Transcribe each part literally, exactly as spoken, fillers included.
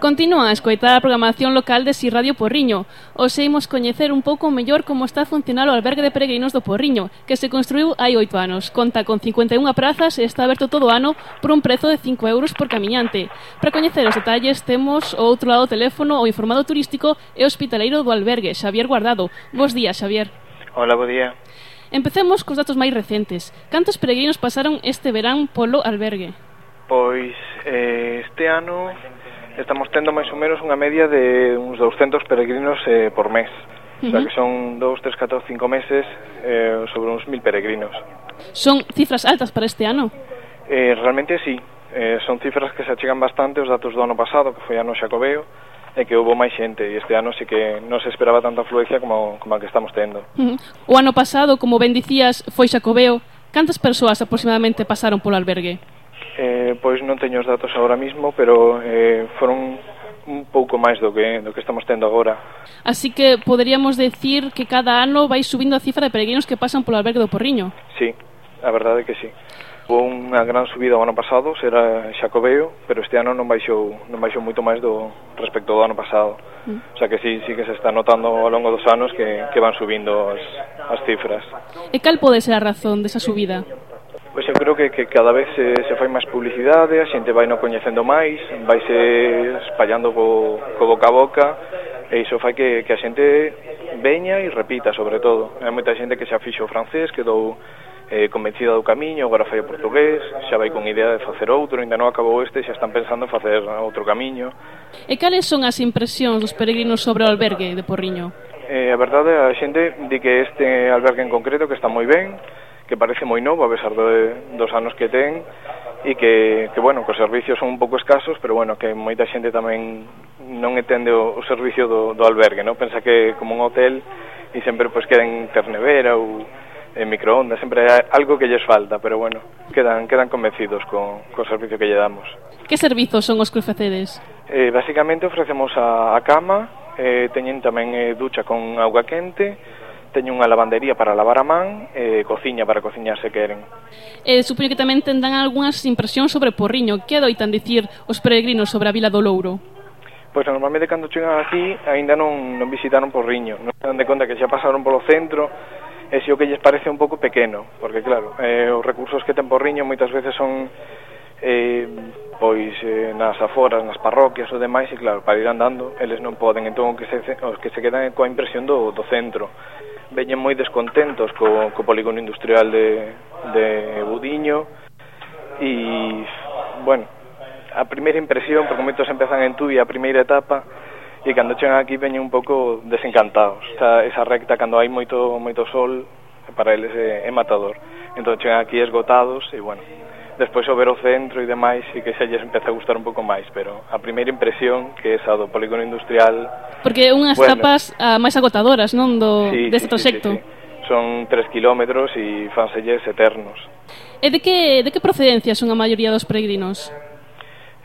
Continúa a escoitar a programación local de Si Radio Porriño. Hoxe imos coñecer un pouco mellor como está a funcionar o albergue de peregrinos do Porriño, que se construiu hai oito anos. Conta con cincuenta e unha prazas e está aberto todo o ano por un prezo de cinco euros por camiñante. Para coñecer os detalles temos o outro lado do teléfono o informado turístico e hospitaleiro do albergue, Xavier Guardado. Bos días, Xavier. Hola, bo día. Empecemos cos datos máis recentes. Cantos peregrinos pasaron este verán polo albergue? Pois eh, este ano estamos tendo máis ou menos unha media de uns douscentos peregrinos eh, por mes. Uh-huh. O sea que son dous, tres, catro, cinco meses eh, sobre uns mil peregrinos. Son cifras altas para este ano? Eh, realmente sí. Eh, son cifras que se achegan bastante os datos do ano pasado, que foi ano Xacobeo, e que houve máis xente, e este ano sí que non se esperaba tanta afluencia como, como a que estamos tendo. Uh-huh. O ano pasado, como ben dicías, foi Xacobeo. Cantas persoas aproximadamente pasaron polo albergue? Eh, pois non teño os datos agora mismo, pero eh, foron un pouco máis do que, do que estamos tendo agora. Así que poderíamos decir que cada ano vai subindo a cifra de peregrinos que pasan polo albergue do Porriño. Sí, a verdade é que sí. Houve unha gran subida o ano pasado, será Xacobeo, pero este ano non baixou, non baixou moito máis do respecto do ano pasado. Mm. O sea que sí, sí que se está notando ao longo dos anos que, que van subindo as, as cifras. E cal pode ser a razón desa subida? Pois eu creo que, que cada vez se, se fai máis publicidade, a xente vai no coñecendo máis, vai se espallando co, co boca a boca, e iso fai que, que a xente veña e repita, sobre todo. Hai moita xente que xa fixo o francés, quedou eh, convencida do camiño, agora fai o portugués, xa vai con idea de facer outro, ainda non acabou este, xa están pensando en facer outro camiño. E cales son as impresións dos peregrinos sobre o albergue de Porriño? Eh, a verdade, a xente di que este albergue en concreto que está moi ben, que parece moi novo a pesar de, dos anos que ten, e que, que, bueno, que os servicios son un pouco escasos, pero, bueno, que moita xente tamén non entende o, o servicio do, do albergue, non? Pensa que como un hotel e sempre pois queden ternevera ou en microondas, sempre hai algo que lles falta, pero, bueno, quedan, quedan convencidos co, co servicio que lle damos. Que servizos son os que ofrecedes? Eh, basicamente ofrecemos a, a cama, eh, teñen tamén eh, ducha con auga quente, teño unha lavandería para lavar a man e eh, cociña para cociñar se queren. Eh, supoño que tamén tendrán algunhas impresións sobre Porriño. Que adoitan dicir os peregrinos sobre a Vila do Louro? Pois normalmente cando chegan aquí aínda non, non visitaron Porriño, non se dan de conta que xa pasaron polo centro, e se o que lles parece un pouco pequeno, porque claro, eh, os recursos que ten Porriño moitas veces son eh, pois eh, nas aforas, nas parroquias ou demais, e claro, para ir andando eles non poden, entón que se, os que se quedan coa impresión do, do centro. Veñen moi descontentos co, co polígono industrial de, de Budiño e, bueno, a primeira impresión, porque moitos empezan en Tui a primeira etapa, e cando chegan aquí veñen un pouco desencantados. Esa, esa recta, cando hai moito moito sol, para eles é, é matador. Entón chegan aquí esgotados e, bueno, despois ao ver o centro e demais e que xa lles empeza a gustar un pouco máis, pero a primeira impresión, que é esa do polígono industrial... Porque unhas bueno, tapas uh, máis agotadoras, non, do, sí, deste sí, proxecto. Sí, sí, sí. Son tres kilómetros e fanselles eternos. E de que, de que procedencia son a maioría dos peregrinos?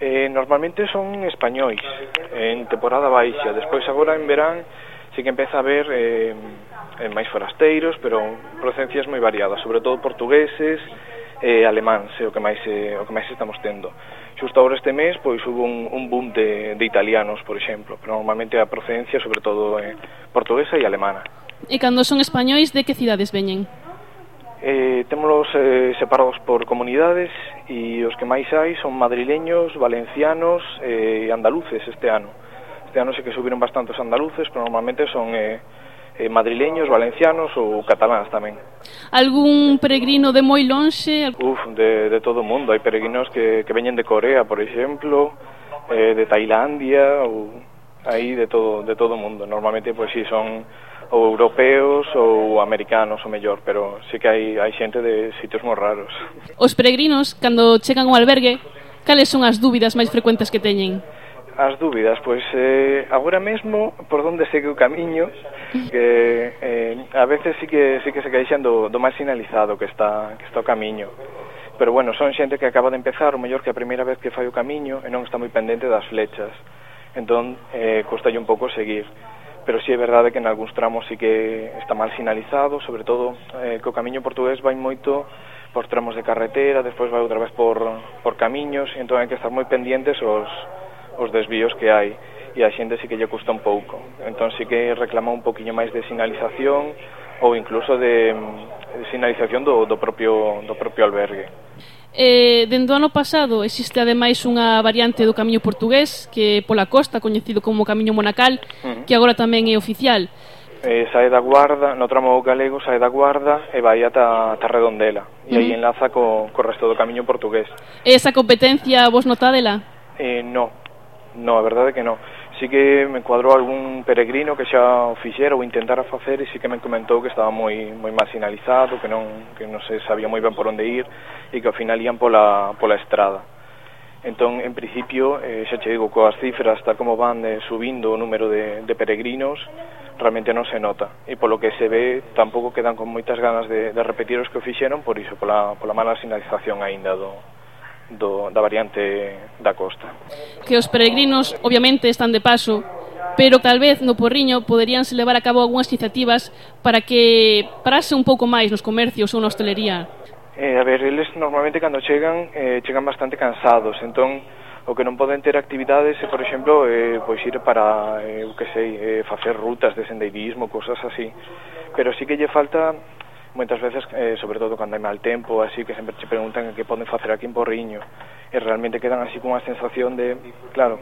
Eh, normalmente son españois, en temporada baixa. Despois agora en verán sí que empeza a haber eh, máis forasteiros, pero procedencias moi variadas, sobre todo portugueses, eh, alemáns, é o que máis eh, o que máis estamos tendo. Xusto agora este mes pois hubo un, un boom de, de italianos, por exemplo, pero normalmente a procedencia sobre todo eh, portuguesa e alemana. E cando son españois, de que cidades veñen? Eh, témolos eh, separados por comunidades, e os que máis hai son madrileños, valencianos e eh, andaluces este ano. Este ano sí que subiron bastantes andaluces, pero normalmente son eh, eh, madrileños, valencianos ou cataláns tamén. Algún peregrino de moi lonxe? Uf, de, de todo o mundo. Hai peregrinos que, que veñen de Corea, por exemplo, eh, de Tailandia, ou aí de todo de todo o mundo. Normalmente, pois si, son ou europeos ou americanos o mellor, pero sí que hai, hai xente de sitios moi raros. Os peregrinos, cando chegan ao albergue, cales son as dúbidas máis frecuentes que teñen? As dúbidas, pois eh, agora mesmo por onde segue o camiño, que eh, a veces sí que sí que se queixan do, do máis sinalizado que está que está o camiño. Pero bueno, son xente que acaba de empezar, o mellor que a primeira vez que fai o camiño e non está moi pendente das flechas. Entón, eh, costalle un pouco seguir. Pero sí é verdade que en algúns tramos sí que está mal sinalizado, sobre todo eh, que o camiño portugués vai moito por tramos de carretera, despois vai outra vez por, por camiños, e entón hai que estar moi pendientes os os desvíos que hai, e a xente sí que lle custa un pouco. Entón sí que reclama un poquinho máis de sinalización ou incluso de, de sinalización do, do, propio, do propio albergue. Eh, dende o ano pasado existe ademais unha variante do camiño portugués que pola costa, coñecido como Camiño Monacal, uh-huh. que agora tamén é oficial. Eh, sae da Guarda, no tramo galego sae da Guarda e vai ata, ata Redondela, e uh-huh. aí enlaza co, co resto do camiño portugués. Esa competencia vos notádela? Eh, no, no, a verdade que no. Sí que me cuadrou algún peregrino que xa o fixera ou intentara facer, e sí que me comentou que estaba moi moi mal sinalizado, que non que non se sabía moi ben por onde ir e que ao final ían pola pola estrada. Entón, en principio, eh, xa che digo, coas cifras tal como van eh, subindo o número de, de peregrinos, realmente non se nota, e polo que se ve tampouco quedan con moitas ganas de, de repetir os que o fixeron, por iso, pola, pola mala sinalización aínda do Do, da variante da costa. Que os peregrinos obviamente están de paso, pero tal vez no Porriño poderíanse levar a cabo algunhas iniciativas para que parase un pouco máis nos comercios ou na hostelería. Eh, a ver, eles normalmente cando chegan eh, chegan bastante cansados, entón o que non poden ter actividades é, por exemplo, eh, pois ir para, eh, o que sei, eh, facer rutas de sendeirismo, cousas así, pero sí que lle falta moitas veces, eh, sobre todo cando hai mal tempo, así que sempre che preguntan que poden facer aquí en Porriño, e realmente quedan así con unha sensación de, claro,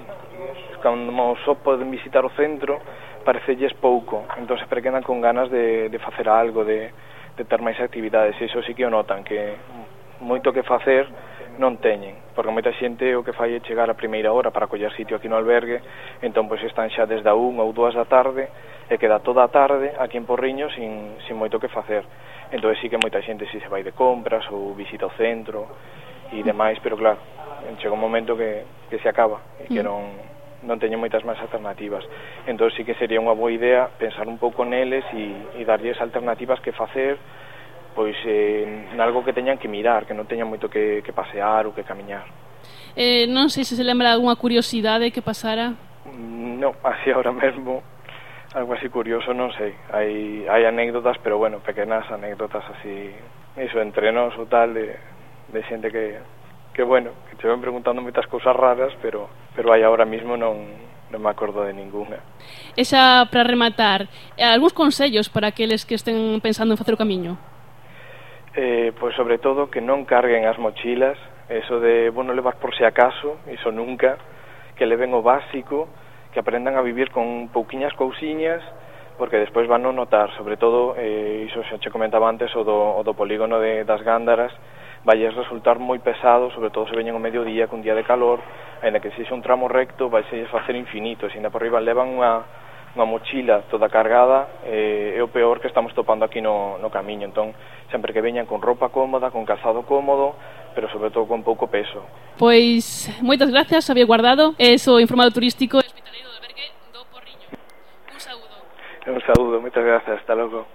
cando só poden visitar o centro, parecelles pouco, entón sempre quedan con ganas de, de facer algo, de, de ter máis actividades, e iso sí que o notan, que moito que facer non teñen, porque moita xente o que fai é chegar a primeira hora para coller sitio aquí no albergue, entón pois están xa desde a unha ou dúas da tarde, e queda toda a tarde aquí en Porriño sin, sin moito que facer. Entón sí que moita xente si se vai de compras ou visita o centro e demais, pero claro, chega un momento que, que se acaba e que non, non teñen moitas máis alternativas. Entón sí que sería unha boa idea pensar un pouco neles e, e darlles alternativas que facer, pois eh, nalgo que teñan que mirar, que non teñan moito que, que pasear ou que camiñar. Eh, non sei se se lembra algunha curiosidade que pasara. Non, así ahora mesmo algo así curioso, non sei. Hai, hai anécdotas, pero bueno, pequenas anécdotas así, iso, entre nós ou tal, de, de xente que, que bueno, que te ven preguntando moitas cousas raras, pero pero hai ahora mismo non, non me acordo de ninguna. E xa, para rematar, algúns consellos para aqueles que estén pensando en facer o camiño? Eh, pois sobre todo que non carguen as mochilas, eso de, bueno, levar por si acaso, iso nunca, que leven o básico, que aprendan a vivir con pouquiñas cousiñas, porque despois van a notar, sobre todo, eh, iso xa che comentaba antes, o do, o do polígono de, das Gándaras, vai resultar moi pesado, sobre todo se veñen o mediodía, con día de calor, ainda que sexa un tramo recto, vai se facer infinito, e ainda por riba levan unha, unha mochila toda cargada, eh, é o peor que estamos topando aquí no, no camiño. Entón, sempre que veñan con roupa cómoda, con calzado cómodo, pero sobre todo con pouco peso. Pois, moitas gracias, Xavier Guardado, e so informado turístico e hospitaleiro do albergue do Porriño. Un saúdo. Un saúdo, moitas gracias, hasta logo.